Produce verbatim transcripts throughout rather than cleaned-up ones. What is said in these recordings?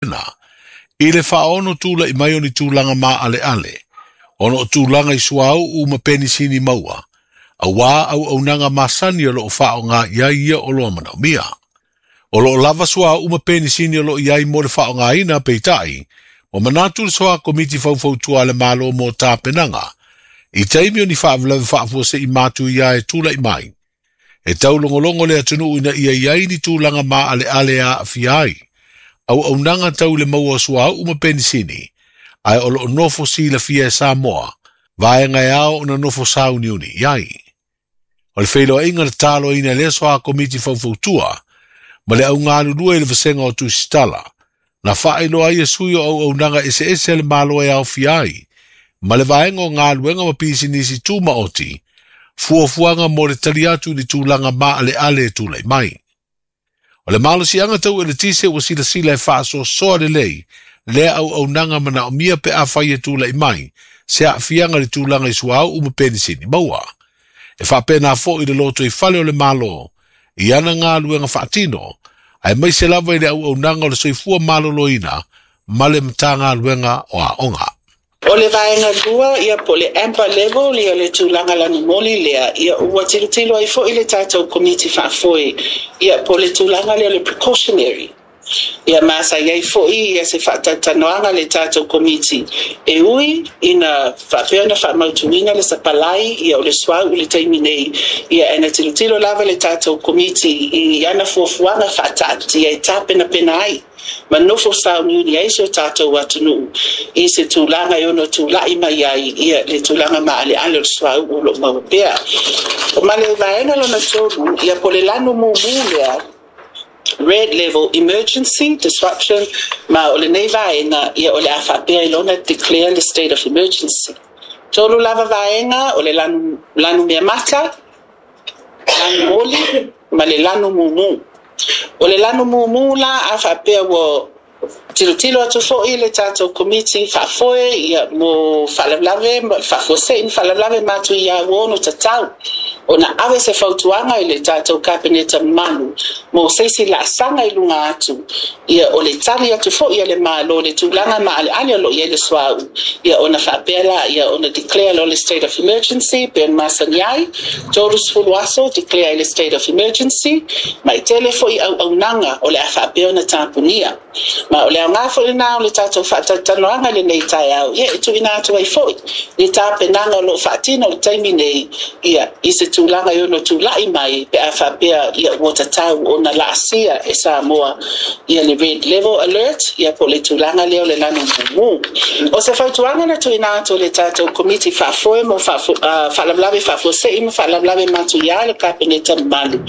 I le faaono tula'i mai o ni tulaga maaleale ona o tulaga i suauu ma penisini maua auā auaunaga masani o loo faaaogā i ai ia oloa manaomia. O loo lava suauu ma penisini o loo i ai mo le faaaogāina, peitai ua manatu le Soa Komiti Faufautua a le Malo mo tapenaga i taimi o ni faalavelave faafuasei matuia e tula'i mai e taulogologo le atunuu ina ia i ai ni tulaga maaleale e aafia ai auaunaga tau i le maua o suauu ma penisini, ae o loo nofo silafia e Samoa vaega e ao ona nofo sauniuni i ai. O le feiloaiga na taloina e lea Soa Komiti Faufautua ma le augalulue i le vasega o Tusitala na faailoa ai e sui o auaunaga eseese a le Malo e aofia ai ma le vaega o galuega ma pisinisi tumaoti fuafuaga mo le tali atu i le tulaga maaleale e tulai mai. O le malosiaga tau eletise ua silasila e faasoasoa lelei lea auaunaga manaomia pe afai e tulai mai se aafiaga i le tulaga i suauu ma penisini maua. E faapena foi le lotoifale o le Malo i ana galuega faatino, aemaise lava i le auaunaga o le soifua maloloina ma le Matagaluega o Aoga. O le vaega lua, ia po o le amber level, ia le tulaga lanumoli lea, ia ua tilotilo ai fo'i le tatou Komiti Faafoe, ia po o le tulaga lea o le precautionary. Ia ma sa i ai fo'i ia se faatalatalanoaga le tatou Komiti e ui ina faapea ona faamautuina le sapalai ia o le suauu i le taimi nei, ia e na tilotilo lava le tatou Komiti i ana fuafuaga faataatia e tapenapena ai ma nofo sauniuni ai si o tatou atunuu i se tulaga e ono tula'i mai ai ia le tulaga maaleale o le suauu o loo maua pea. Ma le vaega lona tolu, ia po o le lanu mumu lea, red level emergency disruption, ma o lenei vaega, ia o le a faapea i lona declare le state of emergency. Tolu lava vaega o le lanu, lanu meamata, lanu moli ma le lanu mumu. O le lanu mumu la, a faapea ua tilotilo atu fo'i le tatou Komiti Faafoe ia mo faalavelave faafuasei ma faalavelave matuia ua ono tatau ona ave se fautuaga i le tatou Kapeneta mamalu mo se isi laasaga i luga atu, ia o le tali atu fo'i a le Malo le tulaga maaleale o loo i ai le suauu, ia ona faapea la ia ona declare lo le state of emergency pe ona masani ai tolu sefulu aso declare ai le state of emergency, ma e tele fo'i auaunaga o le a faapea ona tapunia. Ma o le aoga fo'i lenā o le tatou faatalatalanoaga i lenei taeao, ia e tuuina atu ai fo'i le tapenaga o loo faatino i le taimi nei, ia i se tulaga e ono tula'i mai pe a faapea ia ua tatau ona laasia e Samoa ia le red level alert, ia po o le tulaga lea o le lanu mumu. O se fautuaga na tuuina atu le tatou Komiti Faafoe mo faalavelave faafuasei ma faalavelave matuia le Kapeneta mamalu,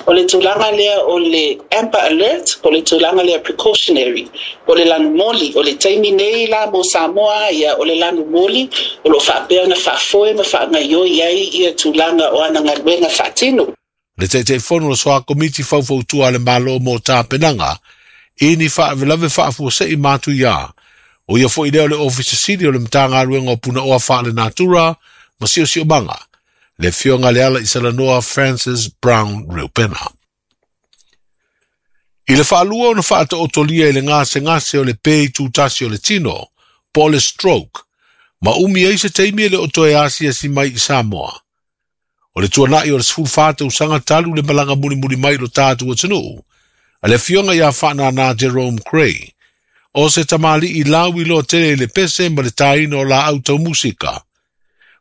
o le tulaga lea o le amber alert, po o le tulaga lea precautionary o le lanu moli. O le taimi nei la mo Samoa, ia o le lanu moli o loo faapea ona faafoe ma faagaioi ai ia tulaga o ana galuega faatino. Le Taitaifono o le Soa Komiti Faufautua a le Malo mo tapenaga i ni faalavelave faafuasei matuia, o ia fo'i lea o le Ofisa Sili o le Matagaluega o Punaoa Faalenatura ma Siosiomaga, le Afioga Lealaisalanoa Francis Brown Reupena. I le faalua ona faataotolia i le gasegase o le pe itutasi o le tino, po o le stroke, ma umi ai se taimi e le o toe asiasi mai i Samoa. O le tuana'i o le sefulufa tausaga talu le malaga mulimuli mai i lo tatou atunuu a le Afioga ia Faanana Jerome Cray, o se tamalii lauiloa tele i le pese ma le tāina o laau tau musika.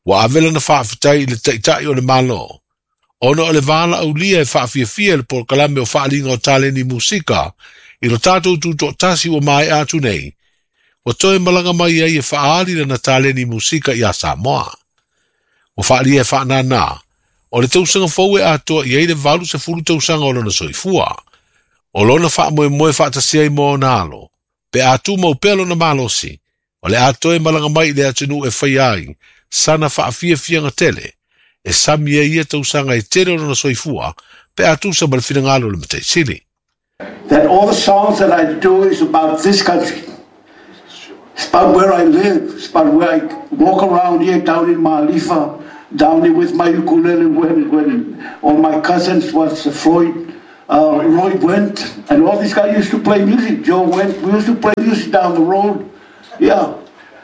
Ua ave lana faafetai i le Taitai o le Malo ona o le valaaulia e faafiafia i le polokalame o faaaliga o taleni musika i lo tatou tutoatasi ua maea atu nei, ua toe malaga mai ai e faaali lana taleni musika iā Samoa. Ua faaalia e Faanana o le tausaga fou e atoa i ai le valu sefulu tausaga o lona soifua. O lona faamoemoe faatasi ai ma ona alo, pe a tumau pea lona malosi, o le a toe malaga mai i le atunuu e faia ai sana faafiafiaga tele e sami ai ia tausaga e tele o lona soifua pe a tusa ma le finagalo o le Matai Sili. That all the songs that I do is about this country. It's about where I live. It's about where I walk around here down in Malifa, down here with my ukulele when, when all my cousins was Floyd Uh, Roy Went, and all these guys used to play music. Joe Went, we used to play music down the road. Yeah,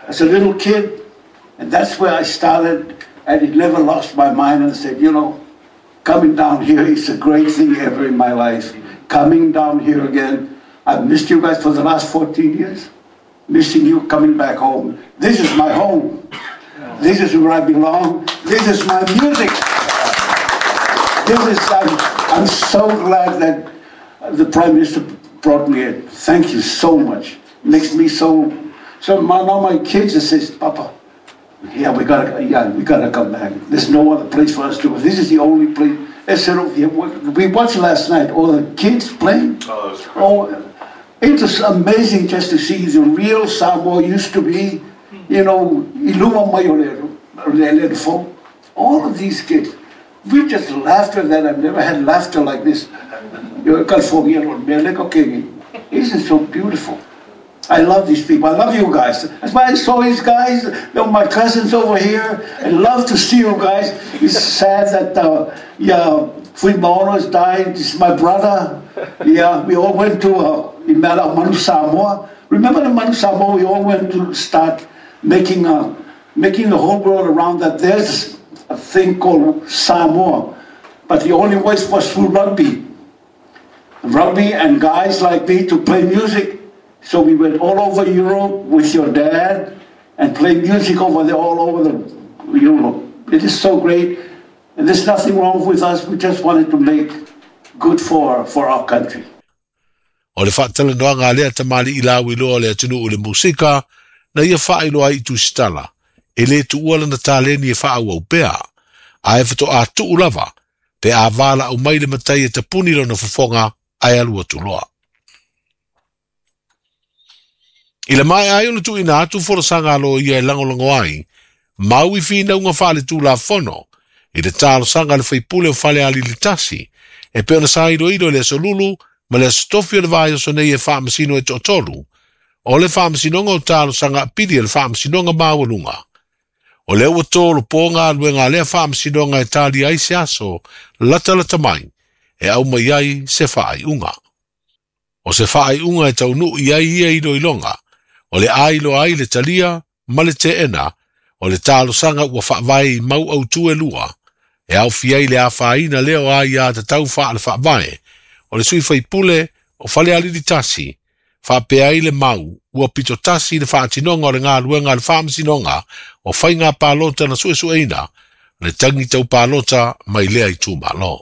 as a little kid. And that's where I started, and it never lost my mind, and said, you know, coming down here is the great thing ever in my life. Coming down here again. I've missed you guys for the last fourteen years. Missing you coming back home. This is my home. This is where I belong. This is my music. This is, I'm, I'm so glad that the Prime Minister brought me in. Thank you so much. Makes me so, so my, now my kids says, Papa, yeah, we gotta, yeah, we gotta come back. There's no other place for us to go. This is the only place. We watched last night, all the kids playing. Oh, oh, it was amazing just to see the real Samoa used to be, you know, all of these kids. We just laughter that I've never had laughter like this. This is so beautiful. I love these people. I love you guys. That's why I saw these guys, my cousins over here. I love to see you guys. It's sad that uh, yeah, Fuimaono has died. This is my brother. Yeah, we all went to uh, Manu Samoa. Remember the Manu Samoa? We all went to start making uh, making the whole world around that there's a thing called Samoa. But the only way was through rugby. Rugby and guys like me to play music. So we went all over Europe with your dad and played music over there, all over the Europe. It is so great. And there's nothing wrong with us. We just wanted to make good for, for our country. O le whaatalanoaga lea tamali i lau iloa le atunuu le musika, na ia whaailoa i tusitala, e le tuua lana taleni e whaau pea, a e whato a tuu lava, pe a wala au mai le matai e tapuni lona fofonga ai alua tuloa. I le mai ai o le tuina atu forosanga alo ia e langolongo ai, maui whinaunga whaale tūla fono, i le talosanga le whaipule o whale ali le tasi, e pe ona sairo iro le aso lulu, ma le aso tofi o le vai o sonei e whaamasino e to'atolu, o le whaamasinoga o talosanga apili e le whaamasinoga maualuga. O le ua tō lopo ngā luenga lea whaamasinoga e tali ai se aso, lata lata mai, e au mai ai se whaaiunga. O se whaaiunga e taunu i ai ia ilo ilonga, o le ailo ai le talia, ma le teena, o le talosanga ua whaavae i mau au tue lua, e au fiai le awhaina leo ai a te tau wha le whaavae, o le sui whaipule o whale aliri tasi, whaapea ai le mau, ua pito tasi le whaatinonga o le ngā luenga le whaamasinonga, o whai ngā pālota na suesueina, le tangi tau pālota mai lea i tūmalo.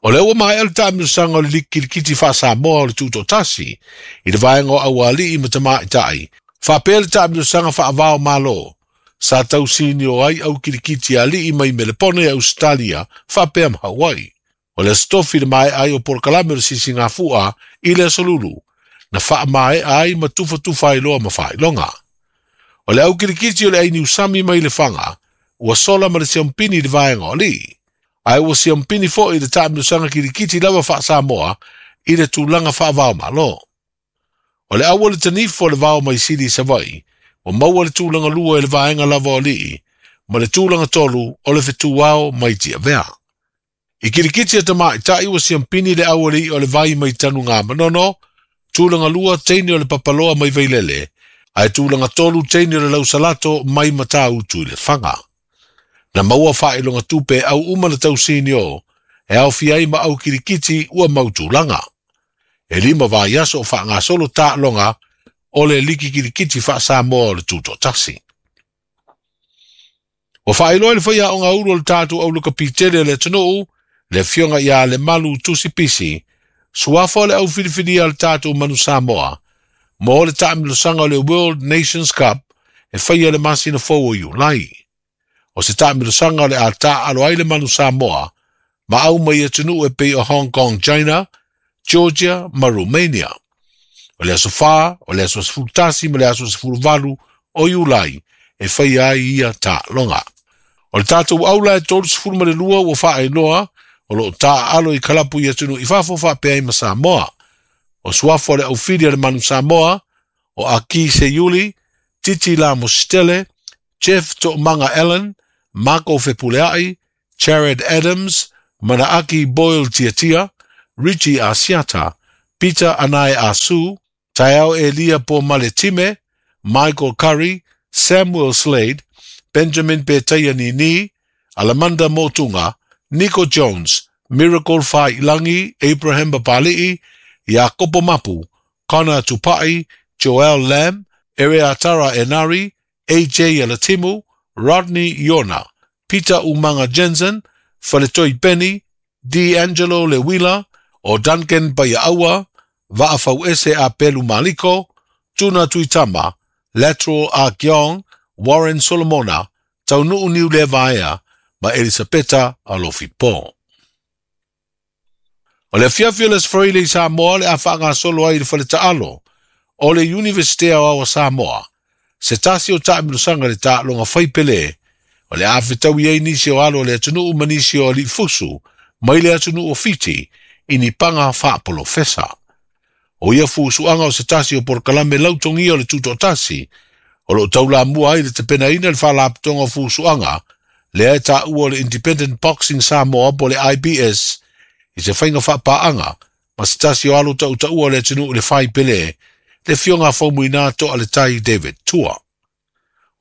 O le ua mai ele taamilosaga o le liki kilikiti faa-Samoa o le tutoatasi, i le vaega o aualii ma tamaitai, faapea le taamilosaga faavao malo, sa tausini o ai au kilikiti alii mai Melepone e Ausetalia, faapea ma Hawaii. O le aso tofi le mae ai o polokalame o le sisigafua i le aso lulu, na faamaea ai ma tufatufa ai loa ma faailoga. O le au kilikiti o le ai Niusami mai le Faga, ua sola ma le siampini i le vaega o alii. Ae ua siampini fo'i le taamilosaga kilikiti lava faa-Samoa i le tulaga faavao malo. O le aua le tanifo o le vao mai Sili i Savaii, ua maua le tulaga lua i le vaega lava o alii, ma le tulaga tolu o le fetuao mai Tiavea. I kilikiti a tamaitai ua siampini le aualii o le vai mai Tanuga Manono, tulaga lua teine o le papaloa mai Vailele, ae tulaga tolu teine o le lausalato mai Matautu i le Faga. Na maua faailoga tupe au uma na tausini o, e aofia ai ma au kilikiti ua mau tulaga. E lima vaiaso o faagasolo taaloga o le liki kilikiti faa-Samoa o le tutoatasi. Ua faailoa i le faiaoga ulu o le tatou aulokapitele o le atunuu, le afioga ia Lemalu Tusipisi, suafa o le aufilifilia o le tatou manu Samoa, mo le taamilosaga o le World Nations Cup e faia le masina fou o Iulai. O se taamilosaga o le a taalo ai le manu Samoa, ma au mai atunuu e pei o Hong Kong, China, Georgia ma Romania. O le aso whā, o le aso sefulu tasi ma le aso sefulu valu o Iulai e faia ai ia taaloga. O le tatou aula e tolu sefulu ma le lua ua faailoa, o loo taaalo i kalapu i atunuu i fafo faapea ai ma Samoa. O suafa o le aufili a le manu Samoa, o Aki Seiuli, Titi La Mositele, Jeff To'omanga Allen, Mako Fepuleai, Jared Adams, Manaaki Boyle Tiatia, Richie Asiata, Peter Anae Asu, Taeao Elia Po Maletime, Michael Curry, Samuel Slade, Benjamin Petaia Nini, Alamanda Motunga, Nico Jones, Miracle Failangi, Abraham Babali'i, Jakopo Mapu, Connor Tupai, Joel Lamb, Ereatara Enari, A J Alatimu, Rodney Yona, Peter Umanga Jensen, Faletoi Penny, D'Angelo Lewila, o Duncan Paiaua, Va'afauese a Pelu Maliko, Tuna Tuitama, Lateral Akyong, Warren Solomona, Taunu'u Niulevaea, ma Elisapeta Alofipo. O le fiafia le sfroile i Samoa le a whaangasolo ai le whaleta'alo o le Universite o Samoa. Se tasi o taamilosaga le taaloga faipelē o le a fetaui ai nisi o alo o le atunuu ma nisi o aliifusu mai le atunuu o Fiti i ni paga faapolofesa. O ia fusuaga o se tasi o polokalame lautogia o le tutoatasi o loo taulamua ai le tapenaina le faalapotoga o fusuaga lea e taua o le Independent Boxing Samoa po le I B S i se faiga faapaaga ma se tasi o alo tautaua o le atunuu i le faipelē le fioga faumuina toa le tai David Tua.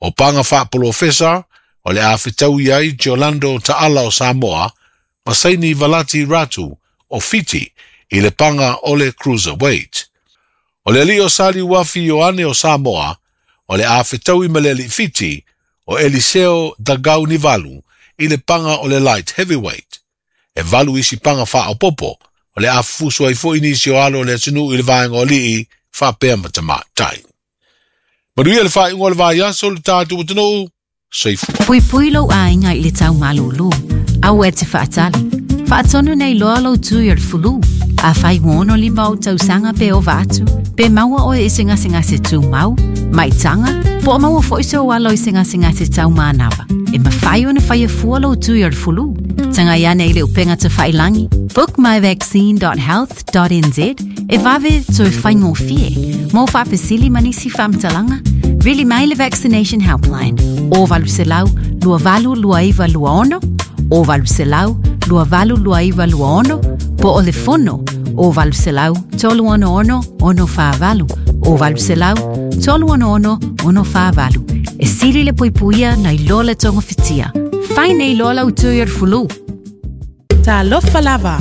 O paga faapolofesa o le a fetaui ai Jolando Ta'ala o Samoa ma Saini Valati Ratu o Fiti i le paga o le Cruiserweight. O le alii o Sali Uafi Ioane o Samoa o le a fetaui ma le alii Fiti o Eliseo Dagaunivalu i le paga o le Light Heavyweight. E valu isi paga faaopopo o le a fufusu ai fo'i nisi o alo o le atunuu i le vaega o alii faapea ma tamaitai. Manuia le faaiuga o le vaiaso le tatou atunuu, soifua. Puipui lou aiga i le taumalūlū, aua e te faatali. Faatonu nei loa lou tui o le fulu. A fai ua lima o tausaga pe ova atu, pe maua oe i se gasegase tumau, maitaga, po o maua fo'i se o alo i se gasegase taumanava. E mafai ona faia fua lou tui o le fulu. Tagai ane i le upega tafailangi, book my vaccine dot health dot n z e vave toe faigofie. Mo faafesili ma nisi faamatalaga, vili mai le Vaccination Helpline o valu selau lua valu lua iva lua ono, o valu selau lua valu lua iva lua ono, po o le fono o valu selau tolu ono ono ono whaavalu, o valu selau tolu ono ono ono whaavalu. E sili le puipuia nei loa le tonga fitia. Fai nei loa lau tui o le fulu. Talofa lava.